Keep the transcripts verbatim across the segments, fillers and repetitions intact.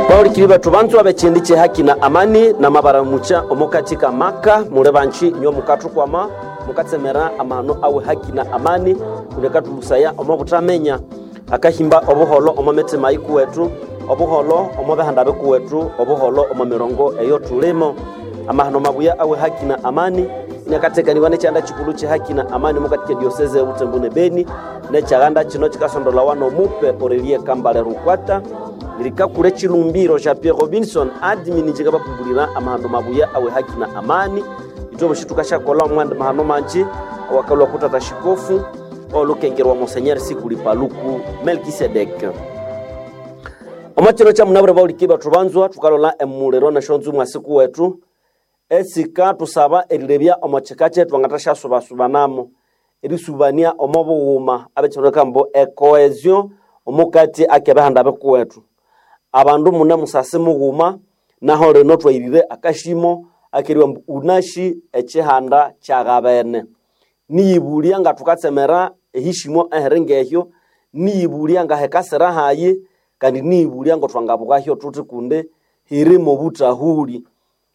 Bahulikiri bethu banzwa b'ekindi ky'ehaki na amani namabaramucha omo katika maka mule banji inywe mukathukwama mukatsemera amahano awe haki na amani ulekathulusaya omo buthamenya akahimba obuholo omo mitima yikuwethu, obuholo omo bihanda bikuwethu, obuholo omo mirongo eyo thulimo. Amahano mabuya awe haki na amani inakatekaniwa nekyanda kikulu ky'ehaki na amani mukatika diocese ya Butembo ne Beni, nekyaganda kino kikasondolawa n'omupe Aurelie Kambale Rukwata lirikakura ekilumbiro kya Pierre Robinson admin njikabakumbulira amahano mabuya awe haki na amani. Ithwe bosi tukashakola omwandi mahano manji awakalwa kutata shikofu olukengerwa Monseigneur Sikuli Paluku Melkisedek. Omwakiro kya munabure bauliki bethu banzwa tukalola emuliro neshonzu mwasiku wetu esika tusaba erilebya omo kika kyethu angathashyasubasubanamo erisubania omo bughuma abekyironeka mbu ecohesion omukati akebihanda bikuwethu. Abandu mune musasi mughuma naho lino twayirire akashimo akeriwa mbu unashi ekihanda kyaghabene. Niyibulya nga thukatsemera ehishimo ehiri ngehyo, niyibulya nga hekasira hayi, kandi niyibulya ngo thwangabukahyo thuthi kundi hirimo obuthahuli.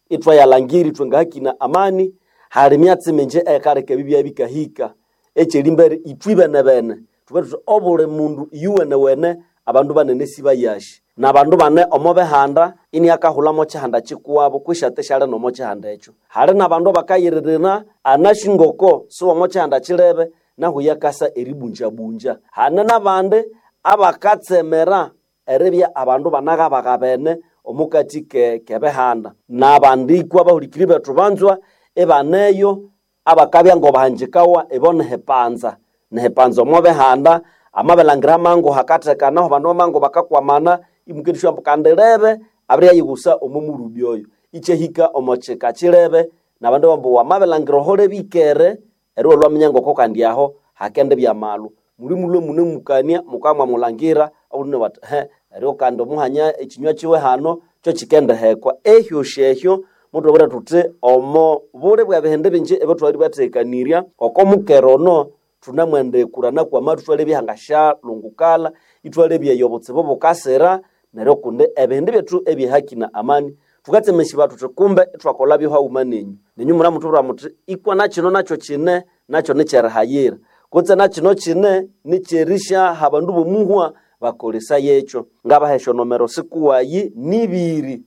Ithwayalhangira ithwe nga haki na amani hali myatsi mingi eyikaleka ebibya bikahika. Ekyerimbere ithwe benebene thubere thuthi obuli mundu iyuwenewene abandu banene sibayashi n'abandu bane omo bihanda iniakahulha kihanda kikuwabo kwishi ate syali n'omo kihanda ekyo. Hali n'abandu abakayiririra anashi ngoko siwomo kihanda kilebe nahu yakasa eribunjabunja. Hane n'abandi abakatsemera eribya abandu banaghabaghabene omukati ke kebihanda. N'abandikwa abahulikiri bethu banzwa ibaneyo abakabya ngobahanjikawa ibo nihipanza. Nihipanza omo bihanda amabilangira amangu hakathekanaho abandu bamangu bakakwamana imukendisya ambu kandi lebe abiriyayighusa omo murubi oyo. Ikyahika omo kika kilebe n'abandu bambu wamabilangira oho lebikere eryo lwaminya ngoko kandi aho hakendibya amalhu. Muli mulhwe munemukania mukamwamulangira obulune bathi he eryo kandi omuhanya ekinywa kiwe hano kyo kikendihekwa. Ehyosi ehyo muthwabwira thuthi omo buli bw'ebihindi bingi ebyathwali bathekanirya oko mukera ono thunamwendikurana kw'amathu ithwalebya ngashalungukala ithwalebya eyo obutsibu bukasira neryo kundi ebihindi byethu eby'ehaki na amani thukatsemesibwa thuthi kumbe ithwakolhabyo haghuma nenyu. Nenyu munamuthubwira muthi ikwa nakino nakyo kine nakyo nikyerihayira kutse nakino kine nikyerisyaha abandu b'omuhwa bakolesaya ekyo. Ngabaha esyonomero sikuwayi nibiri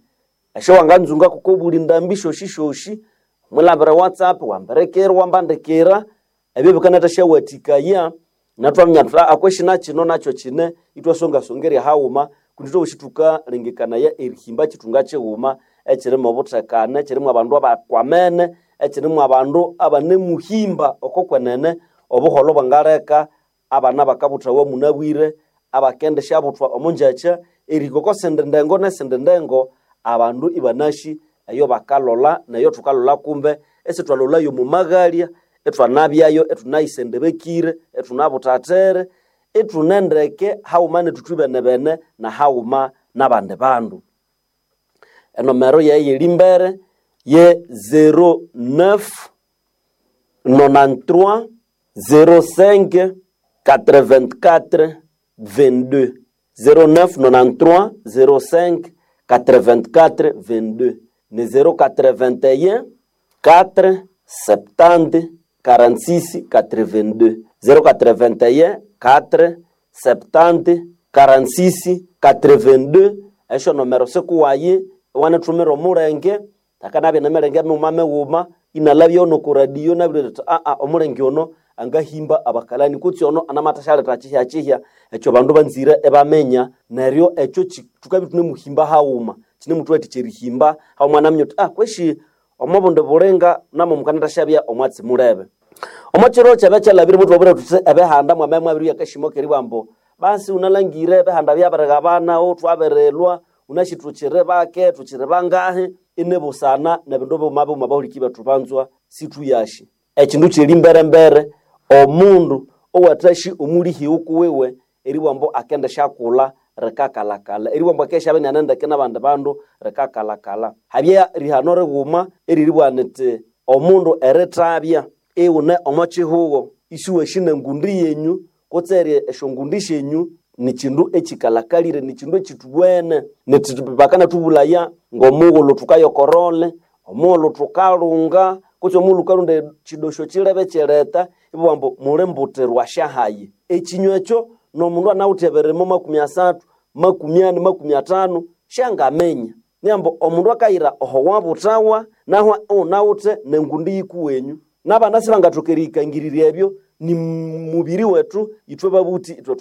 esyo wanganzunga kuko buli ndambi syosi syosi mwilhabira WhatsApp wambirikira wambandikira ebyo bikanathasyaghathikaya nathwaminya thuthi aa kweshi nakino nakyo kine ithwasongasongerya haghuma kundi ithwe thukalengekanaya erihimba kithunga kighuma ekirimu obuthekane, ekirimu abandu abakwamene, ekirimu abandu abanemuhimba oko kwenene obuholho bwangaleka abana bakabuthawa munabwire abakendisyabuthwa omo ngyakya erihika oko sindi ndengo nesindi ndengo abandu ibanashi eyo bakalolha neyo thukalolha kumbe esithwalolhayo omo maghalya ithwanabyayo ithunayisendebekire ithunabuthathere ithunendeke haghuma nethu ithwibenebene na haghuma n'abandi bandu. Enomero yayi yerimbere ye zero neuf nonante-trois zéro cinq quatre-vingt-quatre vingt-deux zéro neuf nonante-trois zéro cinq quatre-vingt-quatre vingt-deux ne zéro quatre-vingt-un quatre septante quarante-six quatre-vingt-deux zéro quatre-vingt-un quatre septante quarante-six quatre-vingt-deux esyo nomero sikuwayi iwanithumira omulenge akanabya nemirenge mighuma mighuma inalabya ono ku radio nabirira athi aa omulenge ono angahimba abakalani kutse ono anamathasyaleta kihya kihya ekyo bandu banzire ibaminya neryo ekyo thukabya ithunemuhimba haghuma kinemuthuwathikya erihimba haghuma naminya uthi ah kweshi omo bundi bulinga namo mukanathasyabya omwatsi mulebe. Omo kiro kyabya kyalhabire muthwabwira thuthi ebihanda mwamabya mwabiribya akashimo keribugha ambu basi wunalhangire ebihanda byabirighabana thwabirilwa wunasi thukyiri bake thukyiri bangahi inibusana nebindu bighuma bighuma abahuliki bethu banzwa sithuyashi. Ekindu kyeri mbere omundu owathashi omulihi kuwiwe eribugha ambu akendisyakulha rikakalhakalha eribugha ambu akendisyabya iniane n'abandi bandu rikakalhakalha. Habya rihano righuma eriribugha nithi omundu erithabya iwune omo kihugho isiwashi nengundi yenyu kutse esyongundi syenyu Ni kindu ekikalakalire, ni kindu ekithuwene. Bakanatubulaya ng'omughulhu thukayokorole, omughulhu thukalunga, kutse omughulhu wukalunda ekidosho kilebe kyereta, ibabugha ambu muli mbutirwa syahayi. Ekinywa ekyo n'omundu anawithe ebirimo makumi asathu, makumi ani, makumi athanu, syangaminya. Niambu omundu akayira oho wabuthawa naho iwunawithe n'engundi yikuwenyu. N'abana sibangathoka eriyikangirirya ebyo, ni mubiri wethu ithwe babuthi ithwe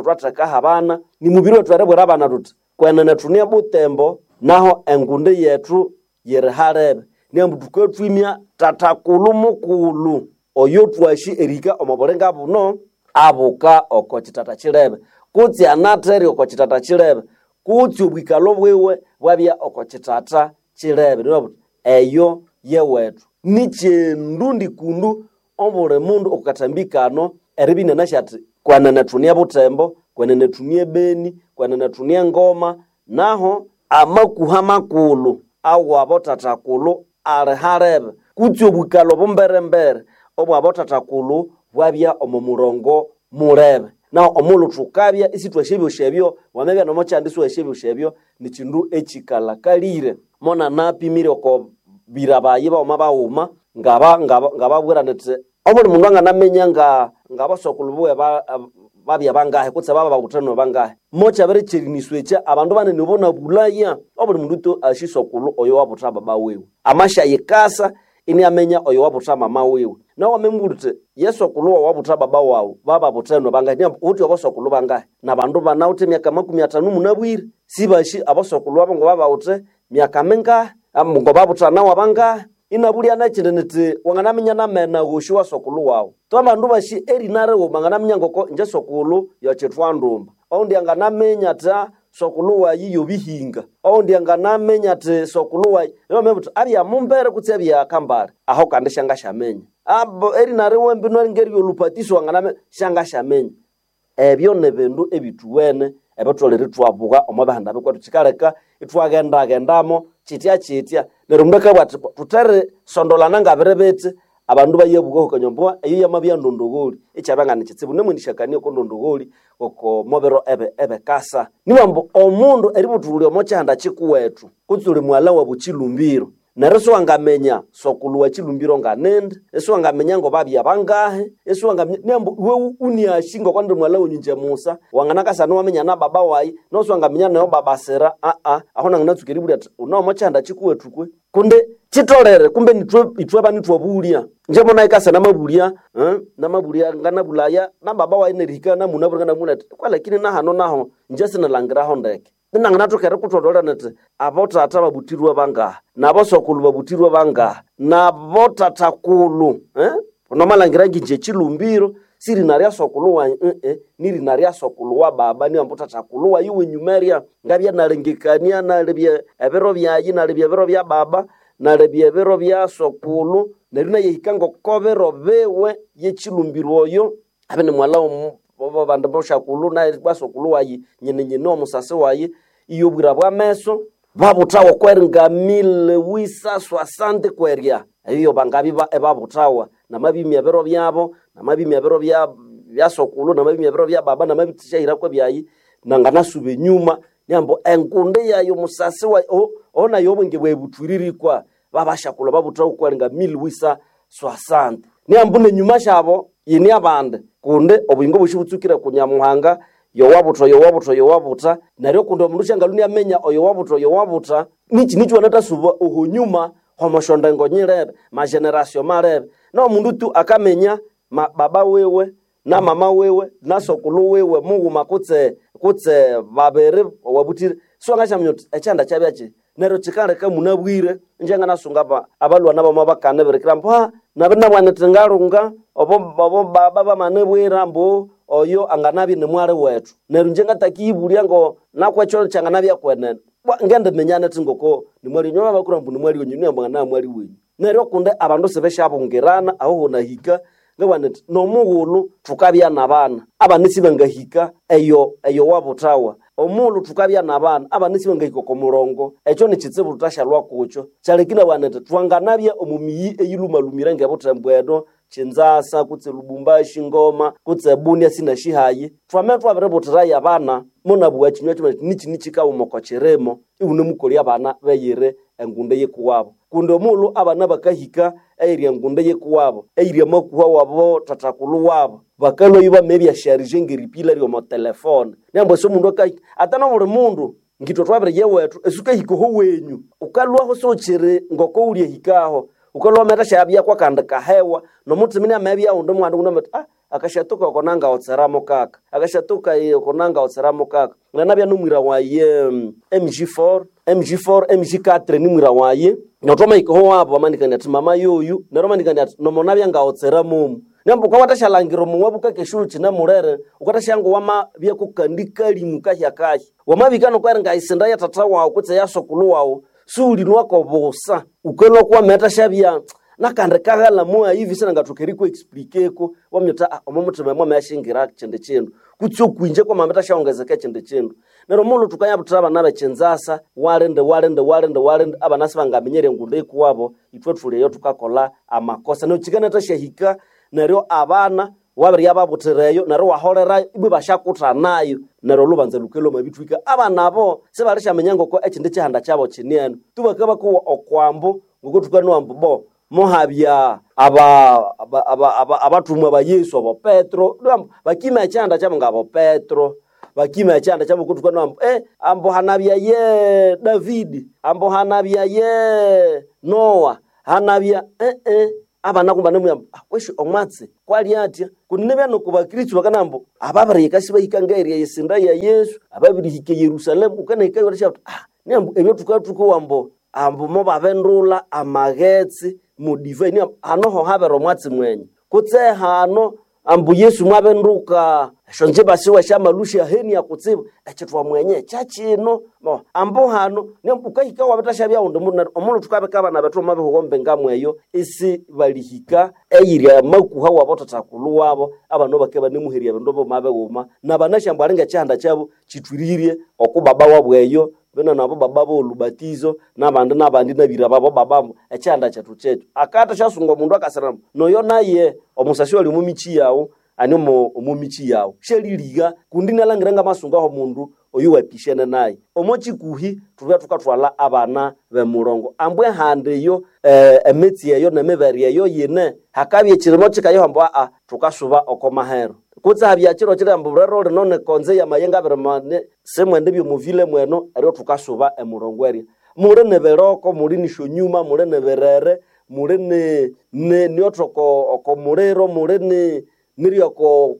thwathekaho abana, ni mubiri wethu eribwira abana thuthi kwenene thune Butembo naho engundi yethu yiri halebe. Niambu thukathwimya tatakulhu mukulhu oyo twasi erihika omo bulinga buno abuka oko kitata kilebe kutse anathere oko kitata kilebe kutse obwikalho bwiwe bwabya oko kitata kilebe. Nibabuthi eyo yewethu nikyindu kundu obuli mundu okukathambi kano eribya inanasi athi kwenene thune Butembo, kwenene thune Beni, kwenene thune Ngoma, naho amakuha makulhu awabo tatakulhu ali halebe kutse obwikalho bumberembere obwabo tatakulhu bwabya omo murongo mulebe. Naho omughulhu thukabya isithwasi ebyosi ebyo, wamabya nomo kyandi isiwasi ebyosi ebyo, nikyindu ekikalakalire. Monanapimire oko bira bayi baghuma baghuma ngaba ngababwira nithi obuli mundu anganaminya nga ngabasokulhu buwe babya bangahi kutse bababuthenwe bangahi. Mokyabirikyeriniswa ekya abandu banene bonabulaya obuli mundu tu asi sokulhu oyo wabutha baba wiwe. Amasyayikasa iniaminya oyo wabutha mama wiwe. Nawe wamamubwira uthi yesokulhu wawu wabutha baba wawu bababuthenwe bangahi, niambu ghuthi abosokulhu bangahi? Nabandu banawithe emyaka makumi athanu munabwire sibasi abosokulhu abo ngababawithe myaka mingahi, ngobabuthanawa bangahi? Inabulya nekindi nithi wanganaminya namena ghosi wa sokulhu wawu. Twabandu basi erina righuma anganaminya ngoko inje sokulhu yokyithwandumba, owundi anganaminya athi sokulhu wayi yobihinga, owundi anganaminya athi sokulhu wayi niwamanya uthi abya Mumbere kutse abya Kambale, aho kandi syangasyaminya. Abo erina riwe mbino ngeryolupatiso wanganaminya syangasyaminya. Ebyo nibindu ebithuwene ebitholere ithwabugha omo bihanda bikwethu kyikaleka ithwaghendaghendamo kyitya kyitya. Neryo omundu akabugha athi thutherisondolana ngabiri bithi, abandu bayabugha hukanywa eyo yamabya ndondogholi ikyabya nga nikitsibu namwendisyakania oko ndondogholi oko mobiro ebe ebekasa. Niwambu omundu eributhulya omo kyihanda kyikuwethu kutse uli mughalha wabu kyilumbiro neryo isiwangaminya sokulhu wa kyilumbiro nganindi, isiwangaminya ngobabya bangahi, isiwangaminya niambu iwe uniasi ngoko ndi mughalha wenyu inje musa, wanganakasana iwaminya na baba wayi, nosiwangaminya nayo baba sira aa aho nanganatsuka eribulya athi wune omo kyihanda kyikuwethu kwe? Kundi kyitolere kumbe nithwe ithwe bani ithwabulya. Inje monayikasa namabulya namabulya nganabulaya na baba wayi nerihika namunabwire nganamubwira athi kwalakini nahano naho inje sinalhangiraho ndeke. Inanganathoka erikutholera nithi abothatha babuthirwe bangahi, nabosokulhu babuthirwe bangahi, nabothathakulhu nomalhangira nginje kyilumbiro sirina rya sokulhu wayi ii nirina rya sokulhu wa baba niwambu thathakulhu wayi wenyuma erya. Ngabya nalengekania nalebya ebiro byayi, nalebya ebiro bya baba, nalebya ebiro bya sokulhu neryo inayahika ngoko biro biwe yekyilumbiro oyo abye ni mughalha wabandi bosyakulhu naye sokulhu wayi nyine nyine omusasi wayi iyobwira bwameso babuthawa okweringa mille wisa swasante kwerya eyo bangabya ibabuthawa namabimya ebiro byabo, namabimya ebiro bya bya sokulhu, namabimya ebiro bya baba, namabithasyahirako ebyayi nanganasuba enyuma niambu engundi yayi omusasi wayi oho nayo obwenge bwayi buthwiririkwa babasyakulhu babuthawa okweringa mille wisa swasante. Niambu nenyuma syabo yine abandi kundi obuyingo bwosi butsukire ku Nyamuhanga yowabutha yowabutha yowabutha neryo kundi omundu syangalhwa iniaminya oyowabutha oyowabutha nikyi nikyi wanathasuba oho nyuma homosyondengo nyilebe mageneration malebe. Nomundu tu akaminya ma baba wiwe na mama wiwe na sokulhu wiwe mughuma kutse kutse babiri owabuthire siwangasyaminya uthi ekyihanda kyabya kyi. Neryo kyikaleka munabwire inje nganasunga aba abalhwana bama bakanibirikira ambu haa nabiri nabugha nithi ngalunga obo obo baba bamanibwira ambu oyo anganabya ni mwali wethu. Neryo inje ngatakiyibulya ngo nakwekyo kyanganabya kwenene bwa ngendiminya nithi ngoko nimwali wenyu babakura ambu nimwali wenyu niambu angana mwali wenyu. Neryo kundi abandu sibesyabungirana aho honahika ngabugha nithi nomughulhu thukabya nabana abana sibangahika eyo eyo wabuthawa. Omughulhu thukabya nabana abana sibangahika oko murongo ekyo nikitsibu thuthasyalhwa kukyo. Kyaleka inabugha nithi thwanganabya omo miyi eyilumalumire ngebuthembo eno. Kinzasa kutse Lubumbashi Ngoma kutse Bunia sinashihayi twame twabiributirayo abana monabuwa kinywa kimwe niki nikikawuma oko kirimo iwunemukolya abana beyire engundo yikuwabo kundi omulhu abana bakahika eyiri engundo yikuwabo eyiri amakuha wabo tatakulhu wabo bakalwayo bamebya-charger ngeripila ryomo telefone niyamba esi omundu akahika ata nobuli mundu ngitwe twabiriya ewethu esukahika oho wenyu ukalwaho siwukiri ngoko wulyahikaho ukalwa wamathasyabya kwakandi kahewa nomuthima inamabya undi mwana undi ah akashatuka oko nangawotseramu kaka akashatuka oko nangawotseramu kaka nanabya nomwira waye M G four M G four M G four nimwira waye notwamahika oho wabo bamanikania ati mama yoyu neryo bamanikania ati nomonabya ngawotseramomu nembu ukawathasyalhangira omuwabu kakeshu kinamulere ukathasyanga wamabya kukandi kalimu kahyakahya wamabika nokweringa isinda ya tata wawu kutse ya sokulu wawu siwulinwako busa ukalwa kwamethasyabya nakandi kaghala muayivi sinangathoka erikuexplikeko wamyuta ah, omo muthima mwamayashingira kindi kindu kutse okwinje kwamamethasyawongezeka ekindi kindu neryo omulhu thukayabuthira abana bekinzasa walindi walindi walindi walindi abana sibangaminyerya engundo ikuwabo ithwe thuli eyo thukakolha amakosa neryo kyikanathasyahika neryo abana wabirya babuthira eyo neryo waholerayo ibwe basyakuthanayo neryo olubanza lukalwa omwabithwika abana abo sibalisyaminya ngoko ekindi kihanda kyabo kini eno tubakabakowa okwambu ngoko thukanowa ambu bo muhabya aba abathumwa aba, aba, aba ba Yesu abo Petro bakima ekyihanda kyabo ngabo Petro bakima ekyihanda kyabo kuthukanowa ambu eh, ambu hanabya ye Davidi ambu hanabya ye Noa hanabya eh, eh. Abana kumba nemuyamba kwesi omwatsi kwali atya kundi nibya noku bakristu bakanambu ababirihika sibahika ngaeria yesinda ya Yesu ababirihika Yerusalemu ukanahikayo batasya ah niambu ebyo thukathukowa ambu ambu mobabendula amaghetse mudivai niambu hano ho habere omwatsi mwenye kutse hano ambu Yesu mwabenduka esyonjimba siwe syamalusha henia kutsibu ekyithwa mwenye kyakino ambu hano niambu ukahika wabitashabya undi mundu omulhu thukabika abana bethu omu bihugo mbingamweyo isi balihika eyiri amakuha wabo thathakulhu wabo abana bake banemuherya ebindu buma bighuma nabanasya ambu alinga ekyihanda kyabo kyithwirire oku baba wabu eyo bino nabo baba bolubatizo nabandi nabandi nabira babo bababo ekyihanda kyethu kyekyo akatha syasunga omundu akasiramo noyo naye omusasi oli omumichi yawu ani omumichi yawu syaliliga kundi nalhangira ngamasungaho omundu oyu wapishene naye omo kikuhi thubya thukathwalha abana b'emurongo ambu ehanda eyo eh, emitsi eyo nemibere eyo yine hakabya ekirimo kikayoha ambu aa thukasuba oko mahero kutse habya kiro kiri ambu rero lino nikonze yamayenga abiri mane simwende byomuvile mweno eryo thukasuba emurongo erya muli nibiroko muli nisyonyuma muli nibirere muli ni ni niothoko oko muliro muli ni niryoko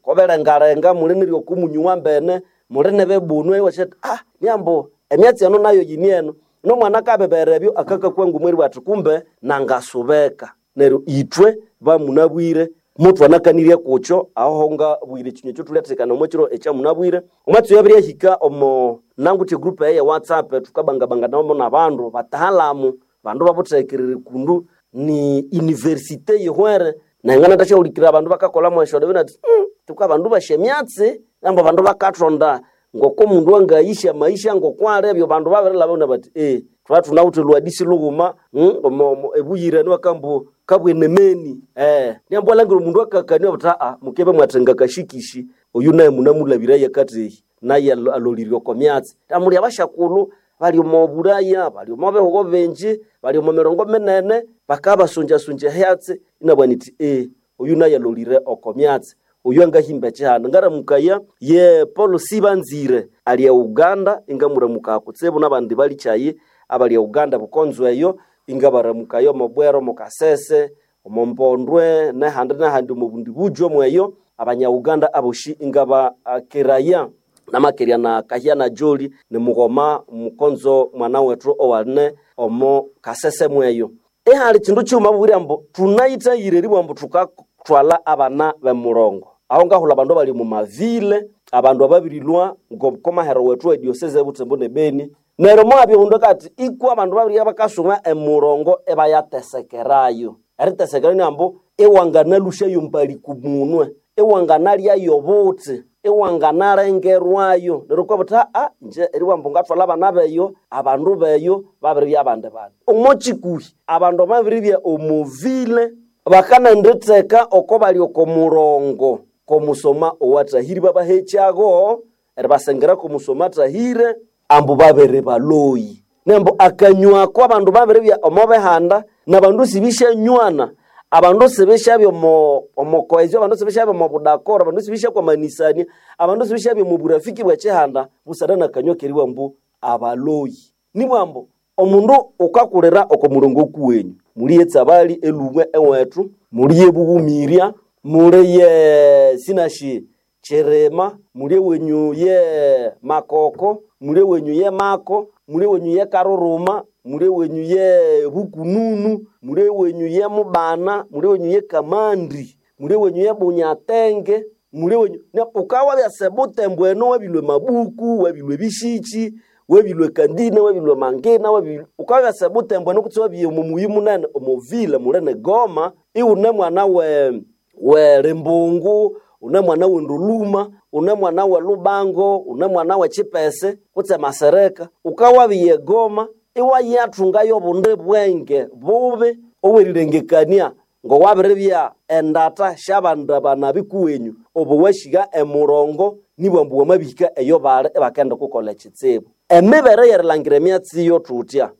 koberengarenga muli niryoko munyu wambene muli nibibunu iwasya ah niambu emyatsi eno nayo yini eno nomwana akabibera ebyo akakakwa ngumweri bwati kumbe nangasubeka neryo ithwe bamunabwire mutwanakanirye kukyo aho ngabwire ekinywa ekyo thulyathekana omo kiro ekyamunabwire omwatsi oyo abiryahika omo nanguthi group eye WhatsApp thukabangabanganamu nabandu batahalamu bandu babuthekerere kundu ni universite yihwere nengana thasyahulikirira abandu bakakolha esyodo binati mm, tuka bandu basya emyatsi ambu abandu bakathonda ngoko omundu angayisya maisha ngokwali ebyo bandu babirilhabana bati eh thwa thunawithe lwadisi lughuma mm, omo ebuyirani wakambu kabwenemeni eh niambu alangira omundu akakania buthi aa mukebe mwathenga kashikishi oyu naye munamulabiraye akathehi naye alolirye oko myatsi amuli abashakulhu bali omo bulaya bali omo bihugo bingi bali omo mirongo minene bakabasunjasunja ehyatsi inabugha nithi eh oyu naye alolire oko myatsi oyu angahimba ekihanda ngaramukaya ye Paul Sibanzire ali e Uganda ingamuramukaya kutsibu nabandi balikyayi abali e Uganda bukonzo eyo ingabaramukayo omo Bwero omo Kasese omo Mpondwe nehandi nehandi omo bundi bujo mweyo abanya Uganda aboshi ingabakiraya namakerya na kahya na joli nimughoma mukonzo mwana wethu owaline omo Kasese mweyo ehali kindu kighuma bubwire ambu thunayithayire eribugha ambu thukathwalha abana b'emurongo aho ngahulha abandu abali omu mavile abandu ababirilhwa ngokomahero wethu ediosese ebutembo ne Beni neryo mwabya omundu akati ikwa abandu babirya bakasuma emurongo ebayatesekerayo eritesekerayo ni ambu iwanganalushayo mbali kumunwe iwanganalyayo obuthi iwanganalengerwayo neryo kwabuthi aa nje eriwambu ngathwalha abana beyo abandu beyo babiribya abandi bandu omo kikuhi abandu babiribya omuvile Bakanenditheka oko bali oko murongo komusoma owathahĩre babahekyago eribasengera komusoma athahĩre ambu babere baloyi. Nembu akanywako abandu babiribya omo bihanda nabandu sibisyanyoana, abandu sibishabya omo omo cohesion, abandu sibishabya omo budakoro, abandu sibishakwamanisania, abandu sibishabya omo burafiki bw'ekihanda busana nakanywa keriwa mbu abaloyi. Nibwa ambu omundu ukakulira oko murongo kuwenyu muli etsabali elubwe ewethu, muli ebubumirya, muli ye sinashi Chirima, muli ewenyu ye Makoko, muli ewenyu ye Mako, muli ewenyu ye Karuruma, muli ewenyu ye Bukununu, muli ewenyu ye Mubana, muli ewenyu ye Kamandi, muli ewenyu ye Bunyatenge, muli ewenyu ne ukawabya sebutembo eno wabilwe Mabuku, wabilwe Bishiki, wabilwe Kandina, wabilwe Mangina, wabilwe ukawabya sebutembo eno kutse wabiye omo muyi munene omo vile munene Goma, iwune mwana we we Limbungu, une mwana we Nduluma, une mwana we Lubango, une mwana we Chipese kutse Masereka, ukawabiye Goma iwayathungayo obundi bwenge bubi obwerilengekania ngowabiribya endata syabandu abanabi kuwenyu obo wahika emurongo nibwa ambu wamabihika eyo bali ibakenda kukolha ekitsibu. Emibere yerilangira emyatsi iyo thuthya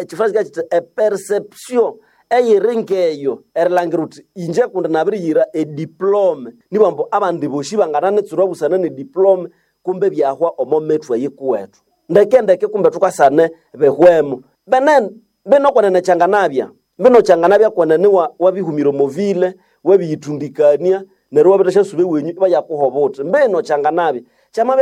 ekifra kika kiti eperception eyiri ngeyo erilangira uthi inje kundi nabiriyira ediplome nibwa ambu abandi bosi bangananitsurwa busana nediplome kumbe byahwa omo mithwe yikuwethu. Ndeke ndeke kumbe thukasane bihwemo. Benene bino kwenene kyanganabya, bino kyanganabya kwenene wa wabihumira omo vile, wabiyithundikania neryo iwabirithasya suba ewenyu ibayakuha obuthi. Mbino kyanganabya kyamabya